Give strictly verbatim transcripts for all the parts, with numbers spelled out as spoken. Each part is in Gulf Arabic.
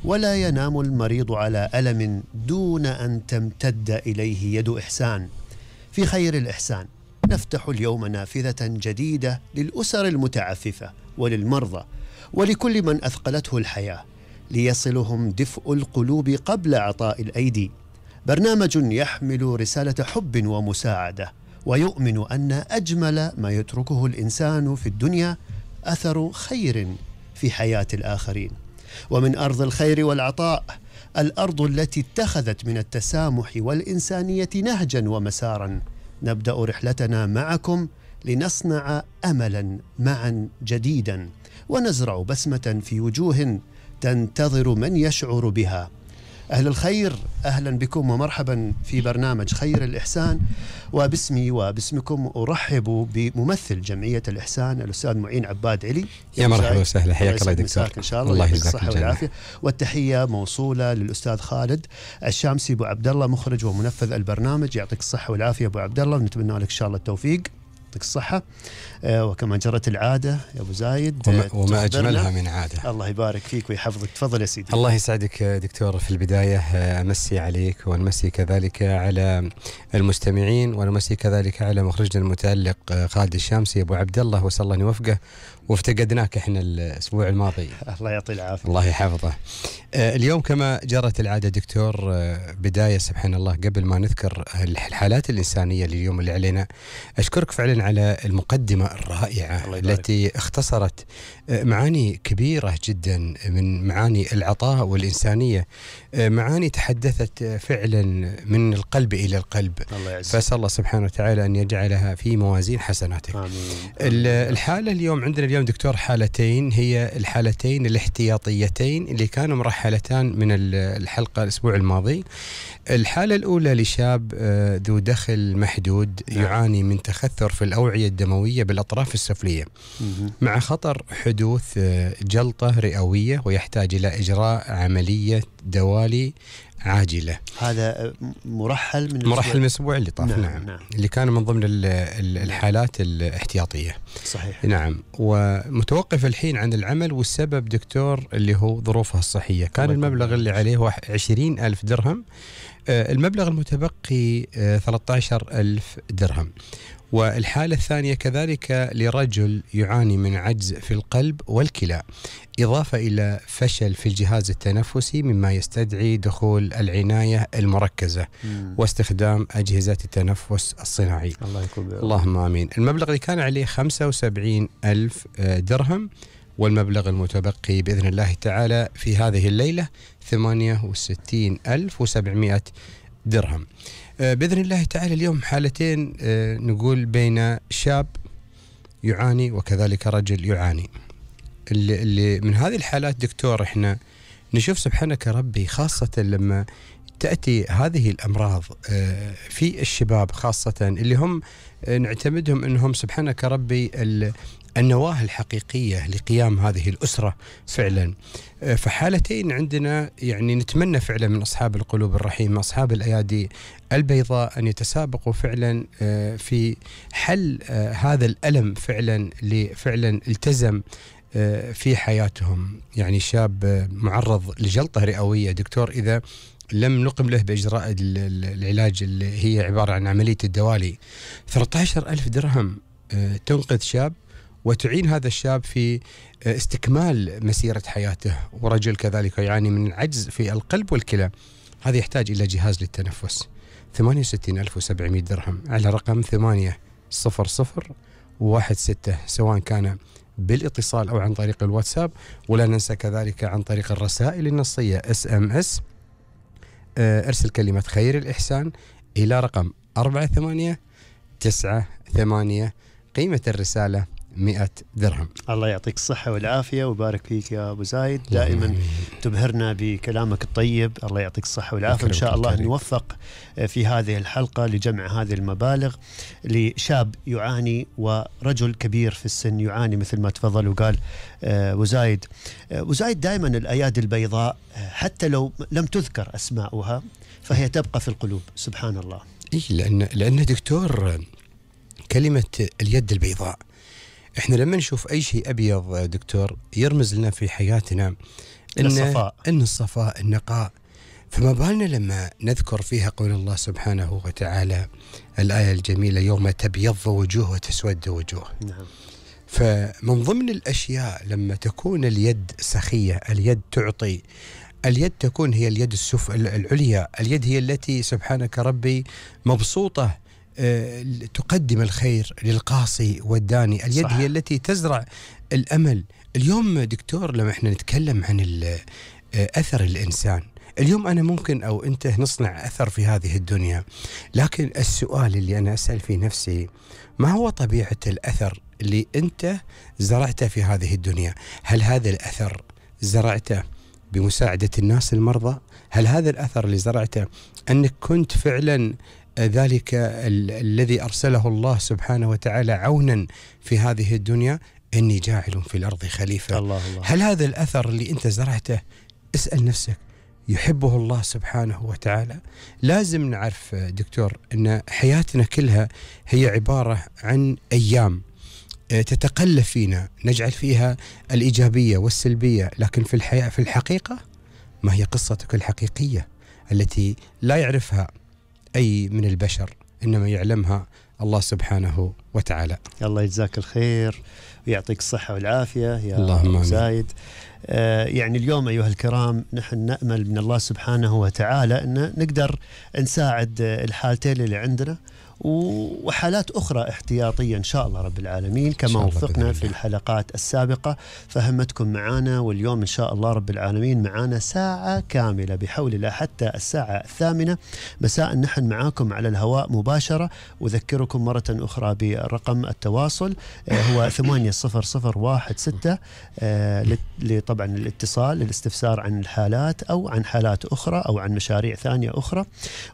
ولا ينام المريض على ألم دون أن تمتد إليه يد إحسان. في خير الإحسان نفتح اليوم نافذة جديدة للأسر المتعففة وللمرضى ولكل من أثقلته الحياة، ليصلهم دفء القلوب قبل عطاء الأيدي. برنامج يحمل رسالة حب ومساعدة، ويؤمن أن أجمل ما يتركه الإنسان في الدنيا أثر خير في حياة الآخرين. ومن أرض الخير والعطاء، الأرض التي اتخذت من التسامح والإنسانية نهجا ومسارا، نبدأ رحلتنا معكم لنصنع أملا معا جديدا، ونزرع بسمة في وجوه تنتظر من يشعر بها. أهل الخير، أهلا بكم ومرحبا في برنامج خير الإحسان. وباسمي وباسمكم أرحب بممثل جمعية الإحسان الأستاذ معين عباد علي. يا مرحبا وسهلا، حياك الله دكتور. إن شاء الله الله يجزاك الصحة والعافية. والتحية موصولة للأستاذ خالد الشامسي أبو عبد الله، مخرج ومنفذ البرنامج. يعطيك الصحة والعافية أبو عبد الله، ونتمنى لك إن شاء الله التوفيق، يعطيك الصحة. آه وكما جرت العادة يا أبو زايد، وما, وما أجملها من عادة. الله يبارك فيك ويحفظك. تفضل يا سيدي. الله يسعدك دكتور. في البداية أمسي عليك ونمسي كذلك على المستمعين، ونمسي كذلك على مخرجنا المتألق خالد الشامسي أبو عبد الله، وصلى الله يوفقه. وافتقدناك احنا الأسبوع الماضي. الله يعطيه العافية. الله يحفظه. اليوم كما جرت العادة دكتور، بداية سبحان الله قبل ما نذكر الحالات الإنسانية لليوم اللي علينا، أشكرك فعلا على المقدمة الرائعة التي اختصرت معاني كبيرة جدا من معاني العطاء والإنسانية، معاني تحدثت فعلا من القلب إلى القلب. فأسأل الله سبحانه وتعالى أن يجعلها في موازين حسناتك. آمين. الحالة اليوم عندنا اليوم دكتور حالتين، هي الحالتين الاحتياطيتين اللي كانوا مرحلتان من الحلقة الأسبوع الماضي. الحالة الأولى لشاب ذو دخل محدود يعاني من تخثر في الأوعية الدموية بالأطراف السفلية مع خطر حدوث جلطة رئوية، ويحتاج إلى إجراء عملية دوالي عاجلة. هذا مرحل من مرحل من الأسبوع اللي طاف. نعم. نعم. نعم اللي كان من ضمن الحالات الاحتياطية. صحيح. نعم. ومتوقف الحين عن العمل، والسبب دكتور اللي هو ظروفها الصحية. كان المبلغ اللي عليه هو عشرين ألف درهم، المبلغ المتبقي ثلاثة عشر ألف درهم. والحالة الثانية كذلك لرجل يعاني من عجز في القلب والكلى، إضافة إلى فشل في الجهاز التنفسي، مما يستدعي دخول العناية المركزة مم. واستخدام أجهزة التنفس الصناعي. الله يكون. اللهم آمين. المبلغ اللي كان عليه خمسة وسبعين ألف درهم، والمبلغ المتبقي بإذن الله تعالى في هذه الليلة ثمانية وستين ألف وسبعمائة درهم. بإذن الله تعالى اليوم حالتين نقول بين شاب يعاني وكذلك رجل يعاني. اللي, اللي من هذه الحالات دكتور احنا نشوف سبحانك ربي، خاصة لما تأتي هذه الأمراض في الشباب، خاصة اللي هم نعتمدهم أنهم سبحانك ربي النواة الحقيقية لقيام هذه الأسرة فعلا. فحالتين عندنا يعني نتمنى فعلا من أصحاب القلوب الرحيمة، أصحاب الأيادي البيضاء، أن يتسابقوا فعلا في حل هذا الألم فعلا، لفعلا التزم في حياتهم. يعني شاب معرض لجلطة رئوية دكتور، إذا لم نقم له بإجراء العلاج اللي هي عبارة عن عملية الدوالي، ثلاثة عشر ألف درهم تنقذ شاب وتعين هذا الشاب في استكمال مسيرة حياته. ورجل كذلك يعاني من العجز في القلب والكلى، هذا يحتاج إلى جهاز للتنفس، ثمانية وستين ألف وسبعمائة درهم، على رقم ثمانية صفر صفر واحد ستة، سواء كان بالاتصال أو عن طريق الواتساب. ولا ننسى كذلك عن طريق الرسائل النصية اس ام اس، ارسل كلمة خير الإحسان إلى رقم أربعة ثمانية تسعة ثمانية، قيمة الرسالة مئة درهم. الله يعطيك الصحة والعافية ويبارك فيك يا أبو زايد، دائما تبهرنا بكلامك الطيب. الله يعطيك الصحة والعافية. إن شاء الله نوفق في هذه الحلقة لجمع هذه المبالغ لشاب يعاني ورجل كبير في السن يعاني، مثل ما تفضل وقال أبو زايد. أبو زايد دائما الأيادي البيضاء حتى لو لم تذكر أسماؤها فهي تبقى في القلوب. سبحان الله. إيه، لأن لأن دكتور كلمة اليد البيضاء، احنا لما نشوف اي شيء ابيض دكتور يرمز لنا في حياتنا إن الصفاء إن الصفاء النقاء. فما بالنا لما نذكر فيها قول الله سبحانه وتعالى الآية الجميلة يوم تبيض وجوه وتسود وجوه. نعم. فمن ضمن الأشياء لما تكون اليد سخية، اليد تعطي، اليد تكون هي اليد السف العليا، اليد هي التي سبحانك ربي مبسوطة أه تقدم الخير للقاصي والداني، اليد صح. هي التي تزرع الأمل. اليوم دكتور لما احنا نتكلم عن أثر الإنسان، اليوم أنا ممكن أو أنت نصنع أثر في هذه الدنيا، لكن السؤال اللي أنا أسأل في نفسي ما هو طبيعة الأثر اللي أنت زرعته في هذه الدنيا؟ هل هذا الأثر زرعته بمساعدة الناس المرضى؟ هل هذا الأثر اللي زرعته أنك كنت فعلا ذلك ال الذي أرسله الله سبحانه وتعالى عونا في هذه الدنيا؟ إني جاعل في الأرض خليفة. الله الله. هل هذا الأثر اللي أنت زرعته، اسأل نفسك، يحبه الله سبحانه وتعالى؟ لازم نعرف دكتور أن حياتنا كلها هي عبارة عن أيام تتقلب فينا، نجعل فيها الإيجابية والسلبية، لكن في الحياة في الحقيقة ما هي قصتك الحقيقية التي لا يعرفها أي من البشر، إنما يعلمها الله سبحانه وتعالى. الله يجزاك الخير ويعطيك الصحة والعافية يا اللهم زايد. آه يعني اليوم أيها الكرام نحن نأمل من الله سبحانه وتعالى أن نقدر نساعد الحالتين اللي عندنا وحالات أخرى احتياطية إن شاء الله رب العالمين، كما وفقنا في الحلقات السابقة فهمتكم معنا. واليوم إن شاء الله رب العالمين معنا ساعة كاملة بحول الله حتى الساعة الثامنة مساء نحن معاكم على الهواء مباشرة. أذكركم مرة أخرى برقم التواصل هو ثمانية صفر صفر واحد ستة طبعا الاتصال للاستفسار عن الحالات أو عن حالات أخرى أو عن مشاريع ثانية أخرى.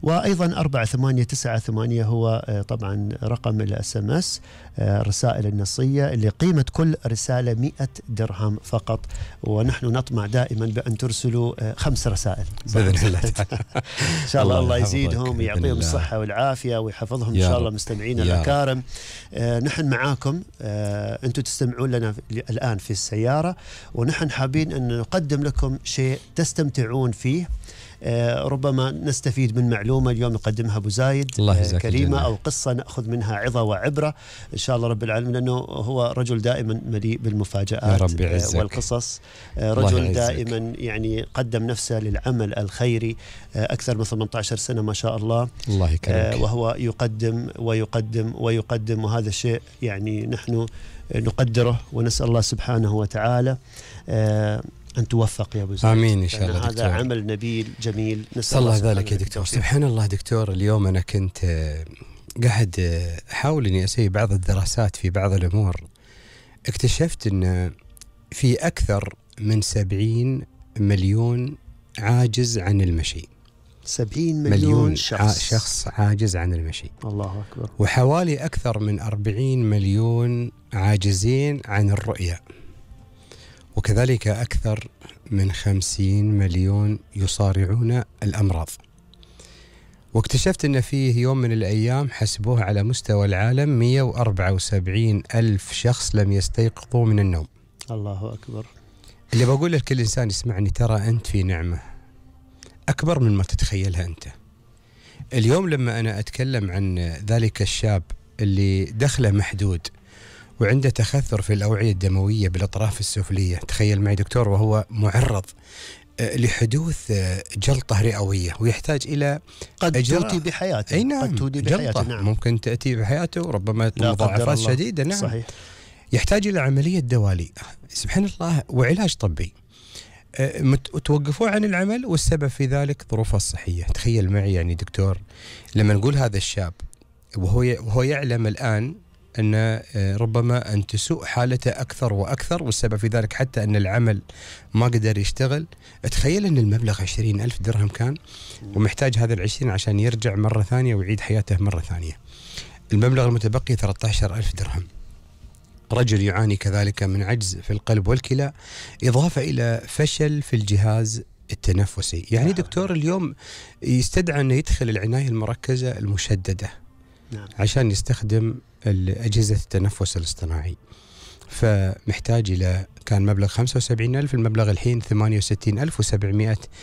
وأيضا أربعة ثمانية تسعة ثمانية هو طبعا رقم الاس ام اس الرسائل النصية اللي قيمة كل رسالة مئة درهم فقط، ونحن نطمع دائما بأن ترسلوا خمس رسائل بإذن الله. إن شاء الله الله يزيدهم ويعطيهم الصحة والعافية ويحفظهم إن شاء الله مستمعين الأكارم. آه نحن معاكم، آه أنتم تستمعون لنا الآن في السيارة، ونحن حابين أن نقدم لكم شيء تستمتعون فيه. آه ربما نستفيد من معلومة اليوم يقدمها أبو زايد آه كريمة أو قصة نأخذ منها عظة وعبرة إن شاء الله رب العالمين، لأنه هو رجل دائما مليء بالمفاجآت آه والقصص. آه رجل دائما يعني قدم نفسه للعمل الخيري آه أكثر من ثمانية عشر سنة ما شاء الله. الله يكرمك. آه وهو يقدم ويقدم ويقدم، وهذا الشيء يعني نحن نقدره ونسأل الله سبحانه وتعالى آه أن توفق يا أبو زيد. آمين إن شاء الله هذا دكتور. عمل نبيل جميل نسأل الله ذلك يا دكتور. سبحان الله دكتور، اليوم أنا كنت قاعد أحاول أني أسوي بعض الدراسات في بعض الأمور، اكتشفت أن في أكثر من سبعين مليون عاجز عن المشي. سبعين مليون, مليون شخص. شخص عاجز عن المشي. الله أكبر. وحوالي أكثر من أربعين مليون عاجزين عن الرؤية، وكذلك أكثر من خمسين مليون يصارعون الأمراض. واكتشفت أن فيه يوم من الأيام حسبوه على مستوى العالم مئة وأربعة وسبعين ألف شخص لم يستيقظوا من النوم. الله أكبر. اللي بقول لكل إنسان يسمعني، ترى أنت في نعمة أكبر من ما تتخيلها أنت. اليوم لما أنا أتكلم عن ذلك الشاب اللي دخله محدود وعنده تخثر في الأوعية الدموية بالأطراف السفلية، تخيل معي دكتور، وهو معرض لحدوث جلطة رئوية ويحتاج إلى قد تؤتي بحياته. أي نعم، قد تؤتي بحياته. نعم. ممكن تأتي بحياته وربما مضاعفات شديدة. نعم صحيح. يحتاج إلى عملية دوالي سبحان الله وعلاج طبي، توقفوا عن العمل، والسبب في ذلك ظروفه الصحية. تخيل معي يعني دكتور لما نقول هذا الشاب وهو وهو يعلم الآن أن ربما أن تسوء حالته أكثر وأكثر، والسبب في ذلك حتى أن العمل ما قدر يشتغل. تخيل أن المبلغ عشرين ألف درهم كان، ومحتاج هذا العشرين عشان يرجع مرة ثانية ويعيد حياته مرة ثانية. المبلغ المتبقي ثلاثة عشر ألف درهم. رجل يعاني كذلك من عجز في القلب والكلى، إضافة إلى فشل في الجهاز التنفسي. يعني دكتور اليوم يستدعى أنه يدخل العناية المركزة المشددة نعم. عشان يستخدم أجهزة التنفس الاصطناعي، فمحتاج إلى كان مبلغ خمسة وسبعين ألف، المبلغ الحين ثمانية وستين ألف وسبعمائة